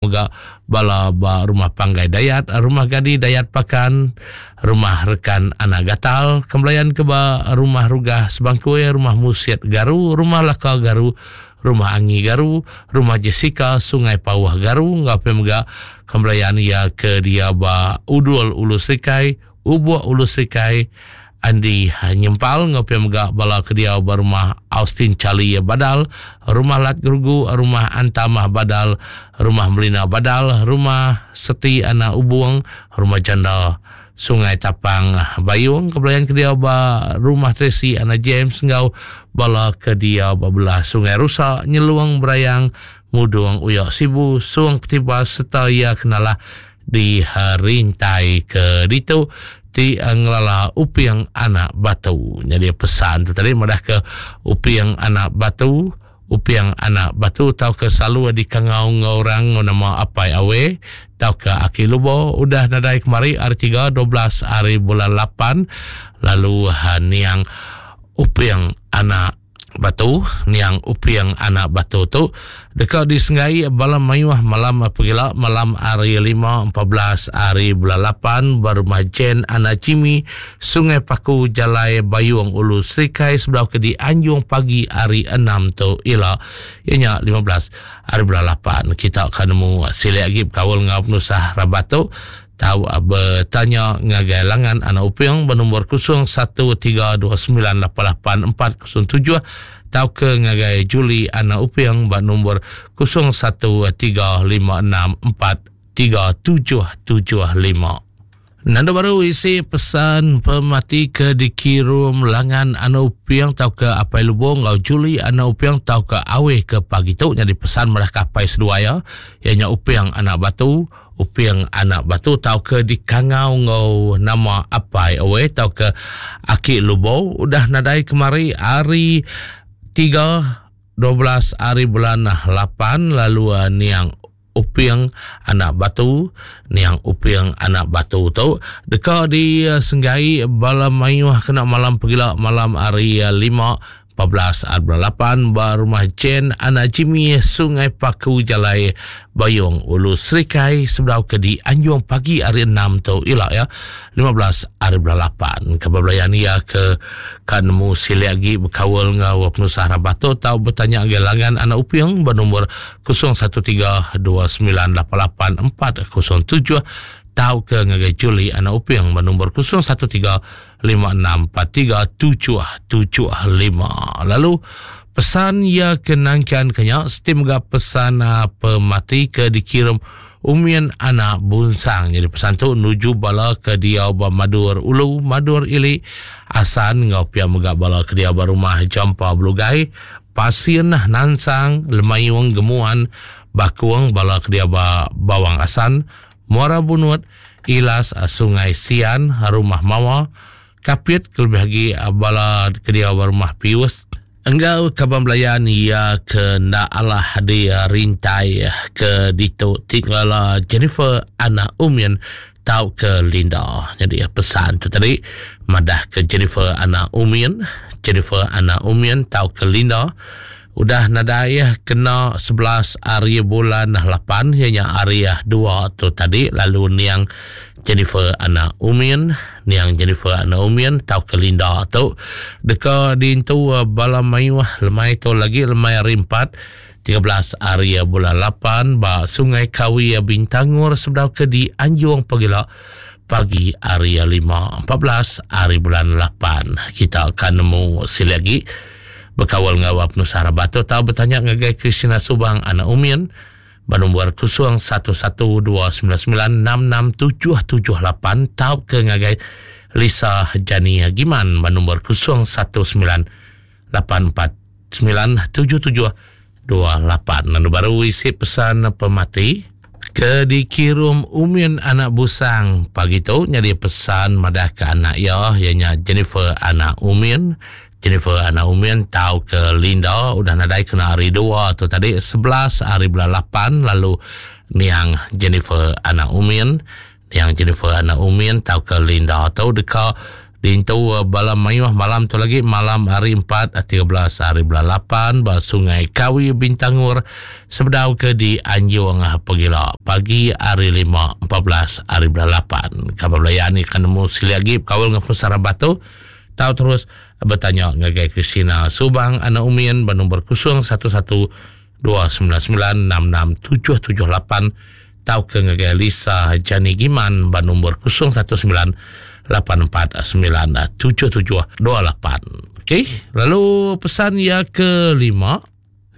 Mega bala ba Rumah Panggai Dayat, Rumah Gadi Dayat Pakan, Rumah Rekan Anak Gatal, Kembelayan ke ba Rumah Rugah Sebangkui, Rumah Musit Garu, Rumah Laka Garu, Rumah Angi Garu, Rumah Jessica Sungai Pauh Garu enggau pia mega Kembelayan iya ke dia ba Udul Ulu Serikai, Ubuk Ulu Serikai, Andi Nyempal enggau pia mega bala ke diau ba Rumah Austin Charlie Badal, Rumah Lat Gerugu, Rumah Antamah Badal, Rumah Melina Badal, Rumah Seti Anak Ubung, Rumah Janda Sungai Tapang Bayung ke belayan ke diau ba Rumah Tracy Anak James enggau bala ke diau ba belah Sungai Rusa, Nyelung Berayang, Mudung Uyak Sibu, Sung Ketibas sereta iya ke nalah Di rintai ke ditu ti ngelala Uping Anak Batu. Nyadi pesan tu tadi madah ke Uping Anak Batu, Uping Anak Batu tauka selalu dikangau enggau orang enggau nama Apai Awe tauka Aki Lubo udah nadai kemari hari tiga 12 hari bulan lapan lalu niang Uping Anak Batu, niang Uping anak Batu tu deka disenggai bala mayuh malam pegila malam hari lima 14 hari bulan lapan ba rumah Jen anak Jimmy, Sungai Paku, Jalai Bayung Ulu Serikai sebedau ke dianjung pagi hari enam tu ila iya nya 15 hari bulan lapan. Kita ka nemu silik agi bekaul enggau penusah rabat tu. Tau betanya ngagai langan anak Uping benombor 0132988407 tauka ngagai Julie anak Uping ba nombor 0135643775. Nanda baru isi pesan pemati ke dikirum langan anak Uping tauka Apai Lubong enggau Julie anak Uping tauka Aweh ke pagi tu nyadi pesan madah ke apai seduai iya, iya nya Uping anak Batu, Uping anak Batu tauka dikangau enggau nama Apai Owei tauka Aki Lubou udah nadai kemari hari tiga 12 hari bulan lapan lalu niang Uping anak Batu niang Uping anak Batu tu deka disenggai bala mayuh kena malam pegila malam hari lima 14 bulan lapan ba Rumah Jen Anak Jimmy Sungai Paku Jalai Bayong Ulu Serikai sebedau ke dianjung pagi hari enam tu ila ya 15 hari bulan lapan. Ke belayan iya ke ka nemu silik agi bekaul enggau penusah rabat tu tau betanya ngagai langan Anak Uping ba nombor 013 2988 407 tauka ngagai Julie Anak Uping ba nombor 013 5643 775. Lalu pesan iya ke nangkan ke nya siti mega pesan ah, pemati ke dikirim Umin anak Bunsang. Jadi pesan tu nuju bala ke diau ba Madur Ulu, Madur Ili, Asan enggau pia mega bala ke diau ba rumah Jampa Belugai, Pasin, Nansang, Lemayung, Gemuan, Bakung, bala ke diau ba Bawang Asan, Muara Bunut, Ilas, Sungai Sian, Rumah Mawa, Kapit kelebih agi bala ke diau ba Rumah Pius enggau kaban belayan iya ke enda alah di rintai ke ditu ti ngelala Jennifer anak Umin tauka Linda. Nyadi pesan tu tadi madah ke Jennifer anak Umin, Jennifer anak Umin tauka Linda Udah nadai kena 11 hari bulan 8 iya nya hari dua tu tadi lalu niang Jennifer anak Umin, niang Jennifer anak Umin tauka Linda tu deka diintu bala mayuh lemai tu lagi lemai hari empat 13 hari bulan 8 ba Sungai Kawi Bintangor sebedau ke dianjung pagila pagi hari 5 14 hari bulan 8 kita akan nemu silik agi Bekaul enggau penusah rabat tu tau betanya ngagai Christina Subang anak Umin ba nombor 0112996678 tauka ngagai Lisa Jani Giman ba nombor 0198497728. Lalu baru isi pesan pemati ke dikirum Umin anak Busang pagi tu nyadi pesan madah ke anak iya iya nya Jennifer anak Umin Jennifer anak Umin tauka Linda udah nadai kena hari dua tu tadi 11 hari bulan 8 lalu niang Jennifer anak Umin niang Jennifer anak Umin tauka Linda tu deka. Diintu bala mayuh malam tu lagi malam hari 4 13 hari bulan 8 ba Sungai Kawi Bintangor sebedau ke di Anjung pegila pagi hari 5 14 hari bulan 8. Kaban belayan ni kan nemu sekali lagi bekaul dengan penusah rabat tu tau terus bertanya ngagai Christina Subang anak Umin ba nombor 011 299 66778 tauka ngagai Lisa Jani Giman ba nombor 019 849 7728. Okey, lalu pesan ia kelima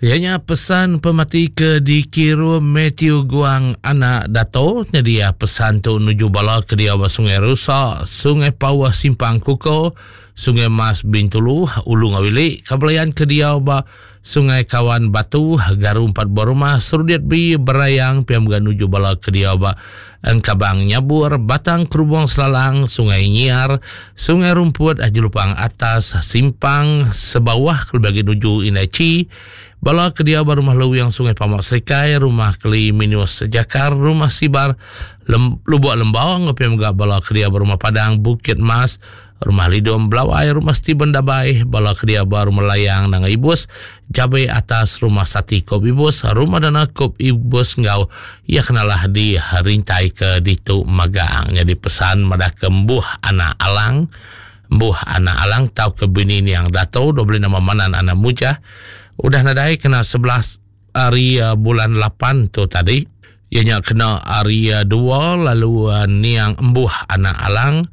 ianya pesan pemati ke dikirum Matthew Guang anak Dato. Jadi ya pesan tu nuju bala ke dia ba Sungai Rusa, Sungai Pauh Simpang Kuko, Sungai Mas Bintulu, Ulu Ngawili, Kabelayan ke dia ba Sungai Kawan Batu, Garu empat buah rumah, Serudit B, Berayang, pia mega nuju bala ke diau ba Engkabang Nyabur, Batang Kerubung Selalang, Sungai Nyiar, Sungai Rumput, Jelupang Atas, Simpang Sebawah kelebih agi nuju Indai Chi, bala ke diau ba Rumah Luwing Sungai Pamak Serikai, Rumah Keli Minus Jakar, Rumah Sibar, Lem, Lubuk Lembau enggau pia mega bala ke diau ba Rumah Padang Bukit Mas, Rumah Lidom Belawai, Rumah Steven Dabai, bala kedia ba Rumah Layang Nanga Ibus, Jabe atas Rumah Sati Kop Ibus, Rumah Dana Kop Ibus enggau iya kenalah di rintai ke ditu magang. Nyadi pesan madah ke embuh anak Alang, embuh anak Alang tauka bini niang Dato dua beli nama Manan anak Mujah udah nadai kena 11 hari bulan 8 tu tadi. Iya nya kena hari dua lalu niang embuh anak Alang,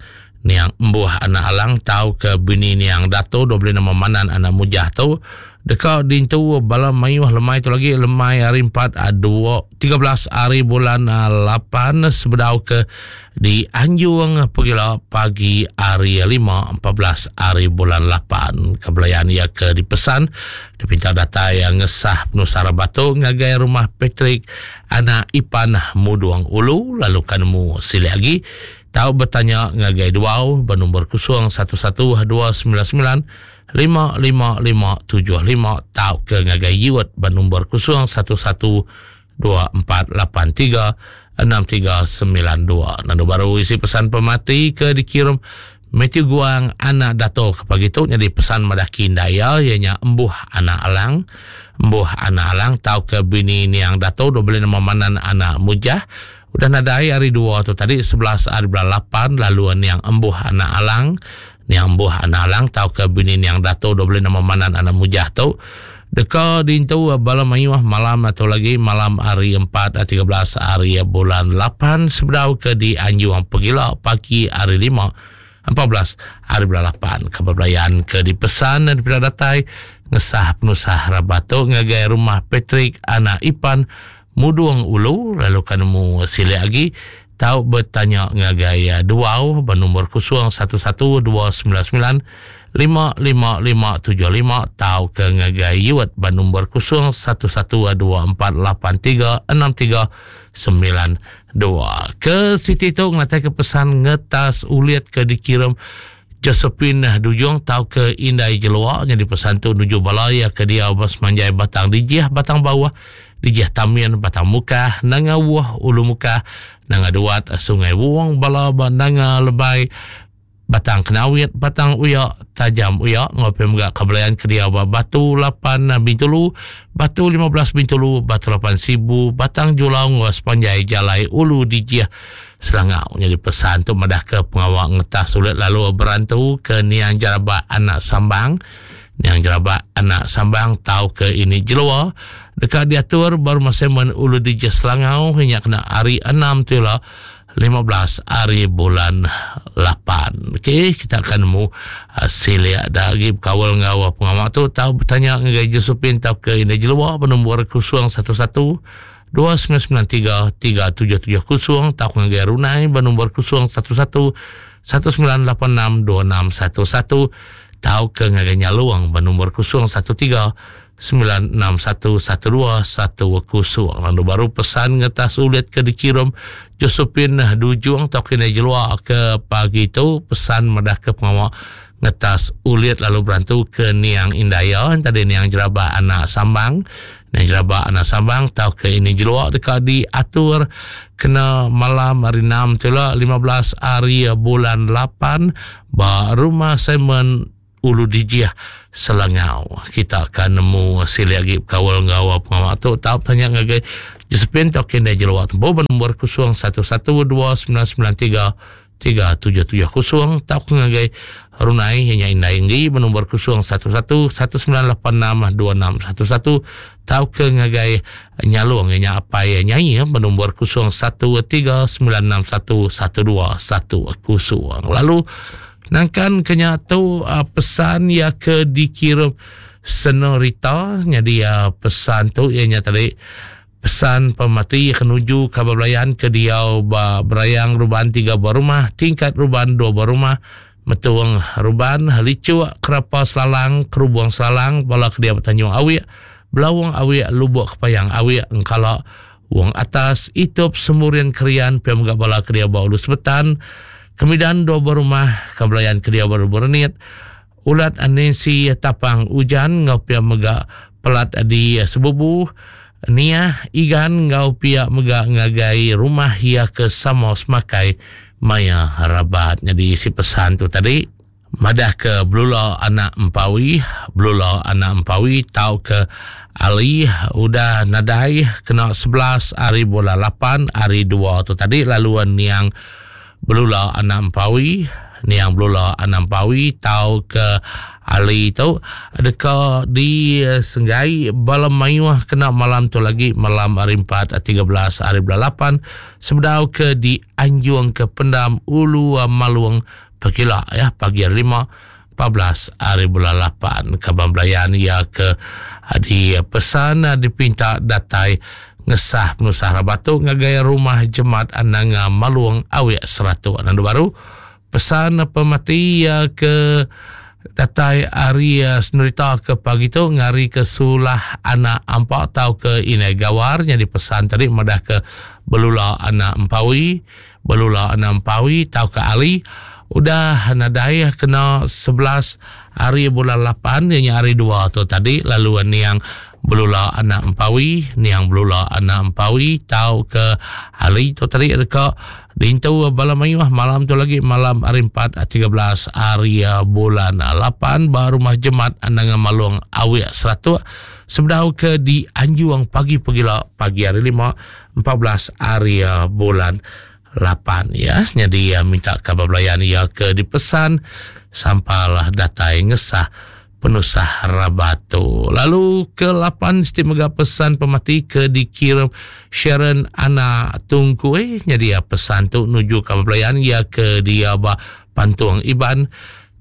niang embuh anak Alang tauka bini niang Dato dua beli nama Manan anak Mujah tu deka diintu bala mayuh lemai tu lagi lemai hari empat dua 13 hari bulan 8 sebedau ke di Anjung pegila pagi hari 5 14 hari bulan 8. Kebelayan iya ke dipesan dipinta datai ngesah penusah rabat tu ngagai rumah Patrick anak Ipan Mudung Ulu lalu ka nemu silik agi tau betanya ngagai Duau ba nombor 011 299 55575 tauka ngagai Yut ba nombor 011 2483 6392. Nandu baru isi pesan pemati ke dikirim Matthew Guang anak Dato ke pagi tu nyadi pesan madah kindai iya iya nya Embuh anak Alang. Embuh anak Alang tauka bini niang Dato dua beli nama Manan anak Mujah udah nadai hari dua tu tadi 11 hari bulan 8 lalu niang Embuh anak Alang niang Embuh anak Alang tauka bini niang Dato dua beli nama Manan anak Mujah tu deka diintu bala mayuh malam atau lagi malam hari 4 13 hari bulan 8 sebedau ke di Anjung Pegila pagi hari 5 14 hari bulan 8 ke belayan ke dipesan dan dipeda datai ngesah penusah rabat tu ngagai rumah Patrick anak Ipan Mudung Ulu lalu ka nemu silik agi tau betanya ngagai Duau ba nombor 011 299 55575 tauka ngagai Yuet ba nombor 011 2483 6392. Ke siti tu ngenatai ke pesan ngetas ulit ke dikirim Josephine Dujung tauka Indai Jelua nyadi pesan tu nuju bala iya ke diau ba semanjai Batang Dijih, Batang Bauh, Dijih Tamin, Batang Mukah, Nanga Wuh, Ulu Mukah, Nanga Duat, Sungai Wong, bala ba Nanga Lebai, Batang Kenawit, Batang Uya, Tajam Uya enggau pia mega Kabelayan ke diau ba Batu 8 Bintulu, Batu 15 Bintulu, Batu 8 Sibu, Batang Julau enggau sepanjai jalai Ulu Dijih Selangau. Nyadi pesan tu madahka pengawa ngetah sulit lalu berantu ke niang Jarabak anak Sambang. Niang Jarabak anak Sambang tauka ini Jelua deka diatur ba Rumah Simon Ulu Dijih Selangau nya kena hari 6 tu ila 15 hari bulan 8. Okey, kita akan nemu silik da agi bekaul enggau pengawa tu tau betanya ngagai Josephine tauka Indai Jelua ba nombor 011 2993 3770 tauka ngagai Runai ba nombor 011 1986 2611 tauka ngagai Nyalung ba nombor 013 9611210. Lalu baru pesan ngetas ulit ke dikirim Josephine Dujung tauka Indai Jelua ke pagi tu pesan madah ke pengawa. Ngetas ulit lalu berantu ke niang indai iya tadi niang Jeraba anak Sambang. Niang Jeraba anak Sambang tauka ini jelua deka diatur kena malam hari 6 tu ila 15 hari bulan 8 ba Rumah Simon Ulu Dijih Selangau. Kita akan nemu silik agi bekaul enggau pengawa tu tau tanya ngagai Josephine tauka indai jelua tembu ba nombor 011299 3770 tauka ngagai Runai iya nya Indai Enggi benombor 011 1986 2611 tauka ngagai Nyalong iya nya Apai Nyai benombor 01 3961 1210. Lalu nangkan ke nya tu pesan iya ke dikirum Senorita nyadi pesan tu iya nya tadi Pesan pemati ke nuju kaban belayan ke diau ba Berayang Ruban tiga buah rumah, Tingkat Ruban dua buah rumah, Metung Ruban, Lichuk, Kerapa Selalang, Kerubung Selalang, bala ke diau ba Tanjung Awik, Belawong Awik, Lubok Kepayang Awik, Engkala, Wong Atas, Itup, Semurin Krian, pia mega bala ke diau ba Ulu Sebetan, Kemidan dua buah rumah, kaban belayan ke diau ba Lubok Renit, Ulat Nancy Tapang Ujan enggau pia mega pelat di Sebubu, Niah, Igan enggau pia mega ngagai rumah iya ke sama semakai maya rabat. Nyadi isi pesan tu tadi madah ke Belula anak Empawi, Belula anak Empawi tauka Ali udah nadai kena 11 hari bulan 8 hari 2 tu tadi lalu niang Belula anak Empawi, niang Belula anak Empawi tauka Ali tu deka disenggai bala mayuh kena malam tu lagi malam hari 4 13 hari bulan 8 sebedau ke dianjung ke pendam Ulu Malung Pekila ya pagi hari 5 14 hari bulan 8 kaban belayan iya ke dipesan dipinta datai ngesah penusah rabat tu ngagai rumah Jemat Nanga Malung Awik Seratok. Nandu baru pesan pemati iya ke datai ari senerita ke pagi tu ngari ke sulah anak ampa tau ke inai gawar nyadi pesan tadi madah ke belula anak empawi Belula anak Empawi tauka Ali udah nadai kena 11 hari bulan 8 iya nya hari dua tu tadi lalu niang Belula anak Empawi niang Belula anak Empawi tauka Ali tu tadi deka diintu bala mayuh malam tu lagi malam hari 4 13 hari bulan 8 ba rumah Jemat Nanga Malong Awik Seratuk sebedau ke dianjung pagi pegila pagi hari 5 14 hari bulan 8 ya. Nyadi minta kaban belayan iya ke dipesan sampal datai ngesah penusah rabat tu. Lalu ke 8 siti mega pesan pemati ke dikirim Sharon Ana Tungkui. Nyadi pesan tu nuju kaban belayan iya ke dia ba Pantung Iban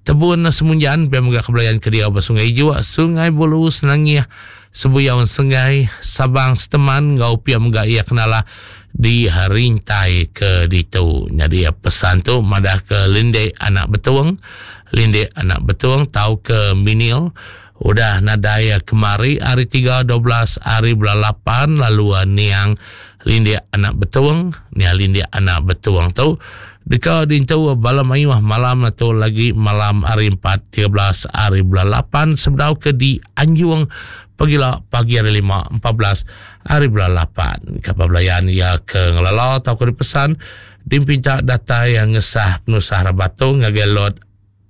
Tebun Semunjan pia mega kebelayan ke diau ba Sungai Ijuk, Sungai Bulu, Senangih, Sebuyau Senggai, Sabang Seteman enggau pia mega iya kenalah di Rintai ke ditu. Nyadi pesan tu madah ke Lindek anak Betung, Lindek anak Betung tauka Minil udah nadai kemari hari 3 12 hari bulan 8 lalu niang Lindik anak Betung, niang Lindik anak Betung tu deka diintu bala mayuh malam tu lagi malam hari 4 13 hari bulan 8 sebedau ke dianjung pagila pagi hari 5 14 hari bulan 8. Kapal belayan ia ke ngelala tauka dipesan dimpinta datai yang ngesah penusah rabat tu ngagai lot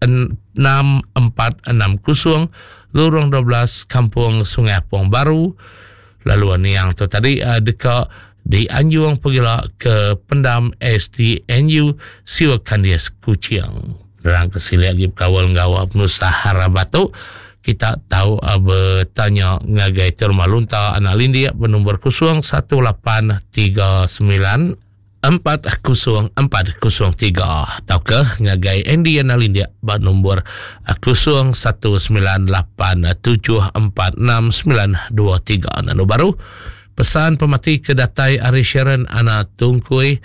6460 Lurung 12 Kampung Sungai Apong Baru lalu niang tu tadi uh, deka dianjung pegila ke pendam STNU Siwa Kandis Kuching. Nerang ke silik lagi bekawal enggau penusah hara batu kita tahu uh, bertanya ngagai Terma Lunta Anak Lindik bernombor 01839 40403 tauka ngagai Andy Anak Lindik ba nombor 0198746923. Nanu baru pesan pemati ke datai ari Sharon Anak Tungkui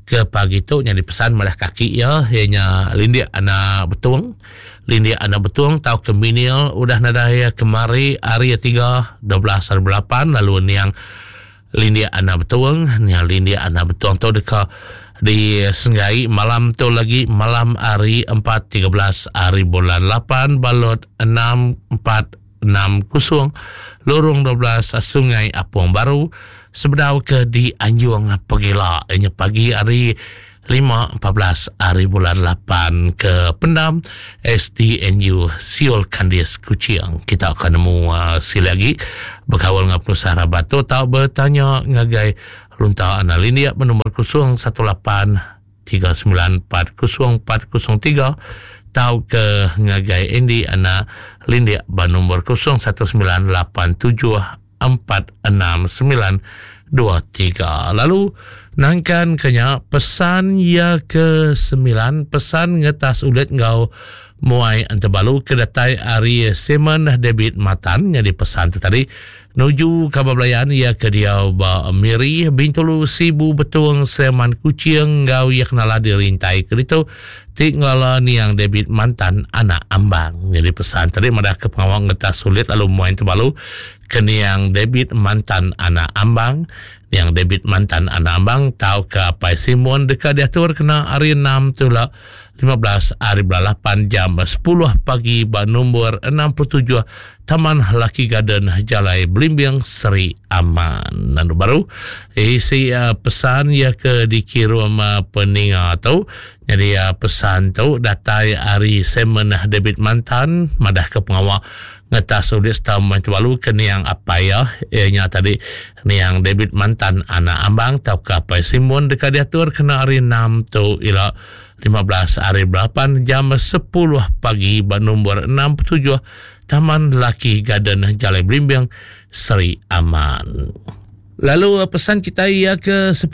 ke pagi tu nyadi pesan madah kaki iya iya nya Lindik Anak Betung. Lindik Anak Betung tauka Minil udah nadai kemari hari 3 12 hari 8 lalu niang Lindik Anak Betung, nya Lindik Anak Betung tu deka Di Senggai malam tu lagi malam hari 4 13 hari bulan 8 balot 6 4 6 0 lorong 12 Sungai Apong Baru sebedau ke di Anjung Pegila inya pagi hari 5 14 hari bulan 8 ke pendam SDNU Siol Kandis Kuching. Kita akan nemu uh, sila lagi berkawal dengan penusah rabat tu tau bertanya ngagai Lunta Anak Lindik bernombor 018 3940403 tau ke ngagai Andy Anak Lindik bernombor 0198746923. Lalu nangkan kenya pesan ya ke sembilan pesan ngetas ulit ngau muai entebalu ke datai ari Simon David Matan jadi pesan tu tadi Nuju kaban belayan iya ke diau ba Miri, Bintulu, Sibu, Betong, Sleman, Kuching enggau iya kenala dirintai ke ditu ti ngelala niang David Mantan anak Ambang. Nyadi pesan tadi madah ke pengawa ngetas sulit lalu muai tebalu ke niang David Mantan anak Ambang. Niang David Mantan anak Ambang tauka Apai Simon deka diatur kena hari enam tu ila 15 hari bulan 8 jam 10 pagi ba nombor 67 Taman Lucky Garden Jalai Belimbing Seri Aman. Nandu baru isi uh, pesan ya ke dikirim uh, peninga tu. Jadi uh, pesan tu datai ari Simon David Mantan madah ke pengawa ngetas ulit setahun main tubalu ke niang apai ya ianya tadi niang David Mantan anak Ambang tauka apai Simon deka diatur kena hari 6 tu ila 15 hari 8 jam 10 pagi ba nombor 67 Taman Lucky Garden Jalai Belimbing Seri Aman. Lalu eh, pesan kita ia ke 10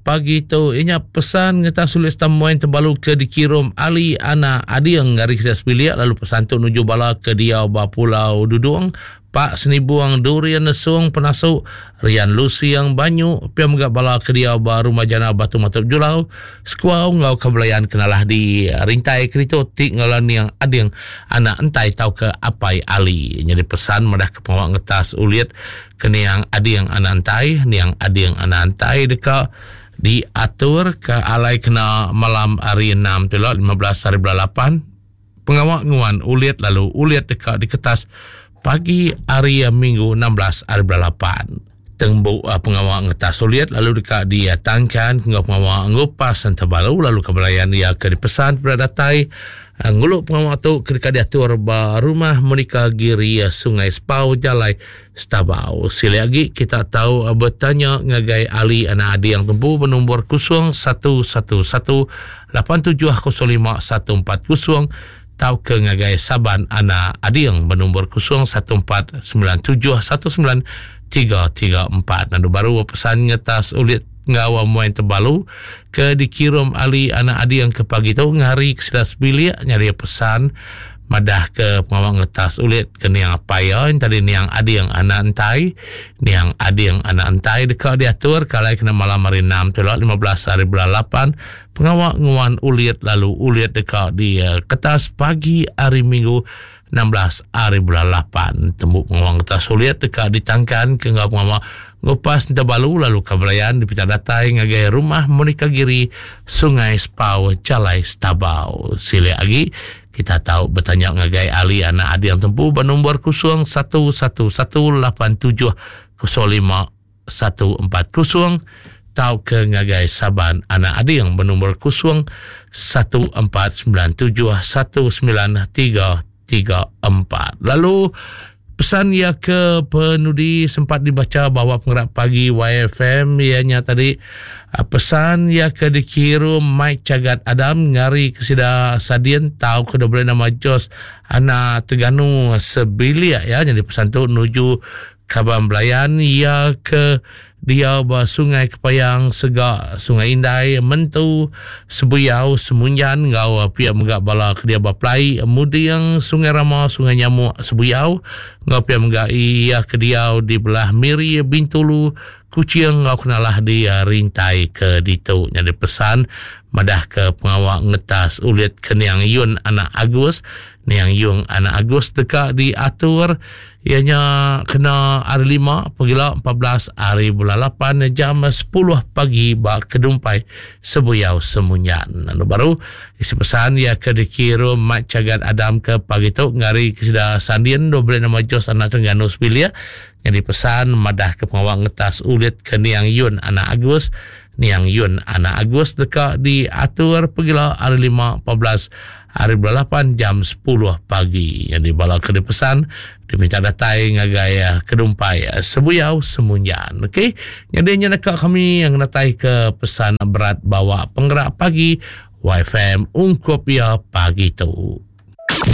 pagi tu inya pesan ngeta sulis tamuan terbalu ke dikirim Ali Ana Ading dari kita sebilik lalu pesan tu nuju bala ke dia ba Pulau Dudung Pak Senibuang Durian Nesung Penasu Rian Lusiang Banyu pia mega bala ke dia ba Rumah Jana Batu Matup Julau Sekuau enggau Kebelayan kenalah di rintai kerito ti ngelaniang Ading anak entai tauka Apai Ali. Nyadi pesan madah ke pengawa ngetas ulit ke niang Ading anak entai, niang Ading anak entai deka diatur ke alai kena malam hari 6 tu ila 15 hari bulan 8 pengawa nguan ulit lalu ulit deka diketas pagi hari Minggu 16 hari bulan 8. Tembu uh, pengawa ngetas ulit lalu deka ditangkan enggau pengawa ngupas entebalu lalu kebelayan ia ke dipesan pada datai uh, ngulu pengawa tu ke deka diatur ba rumah Monica Giri uh, Sungai Spau Jalai Stabau. Sili agi kita tahu bertanya ngagai Ali anak adi yang tempu bernombor 0111 8705 140 tauka ngagai Saban anak Ading bernombor 0149 71 334. Nandu baru pesan ngetas ulit enggau muai tebalu ke dikirum Ali anak Ading ke pagi tu ngari ke sida sebilik nyadi pesan madah ke pengawa ngetas ulit ke niang apai iya tadi niang Ading anak Entai niang Ading anak Entai deka diatur ke alai kena malam hari 6 tu 15 hari bulan 8 Pengawa nguan ulit lalu ulit deka diketas pagi hari Minggu 16 hari bulan 8. Tembu pengawa ngetas ulit deka ditangkan ke enggau pengawa ngupas Ntabalu lalu Kabelayan dipinta datai ngagai Rumah Monica Giri, Sungai Spau, Jalai Stabau. Silik agi kita tau betanya ngagai Ali anak Ading Tempu ba nombor 0111 87 05 140 tauka ngagai Saban Anak Ading benombor 0 1497 19334. Lalu pesan ia ke penudi sempat dibaca bahawa pengerak pagi YFM ianya tadi ah, pesan ia ke dikirim Mike Cagat Adam ngari ke sida Sadien tau ke boleh nama Jos anak Teganu sebilik ya jadi pesan tu nuju Kaban belayan iya ke diau ba Sungai Kepayang, Sega, Sungai Indai, Mentu, Sebuyau, Semunjan enggau pia mega bala ke diau ba Pelai, Muding, Sungai Rama, Sungai Nyamuk, Sebuyau enggau pia mega iya ke diau di belah Miri, Bintulu, Kuching enggau kenalah di rintai ke ditu. Nyadi pesan madahka pengawa ngetas ulit ke niang Yun anak Agus, niang Yung anak Agus deka diatur. Iya nya kena hari lima pegila 14 hari bulan 8 jam 10 pagi ba Kedumpai Sebuyau Semunyan. Lalu baru isi pesan iya ke dikirum Mat Chagat Adam ke pagi tu ngari ke sida Sandin dua beli nama Jos anak Terengganu sebilik nyadi pesan madah ke pengawa ngetas ulit ke Niang Yun anak Agus Niang Yun anak Agus deka diatur pegila hari lima 14 hari bulan 8 jam 10 pagi. Jadi bala ke dipesan diminta datai ngagai eh, Kedumpai eh, Sebuyau Semunjan. Okey. Jadi nya deka kami yang datai ke pesan berat bawa penggerak pagi YFM ungkup ia pagi tu.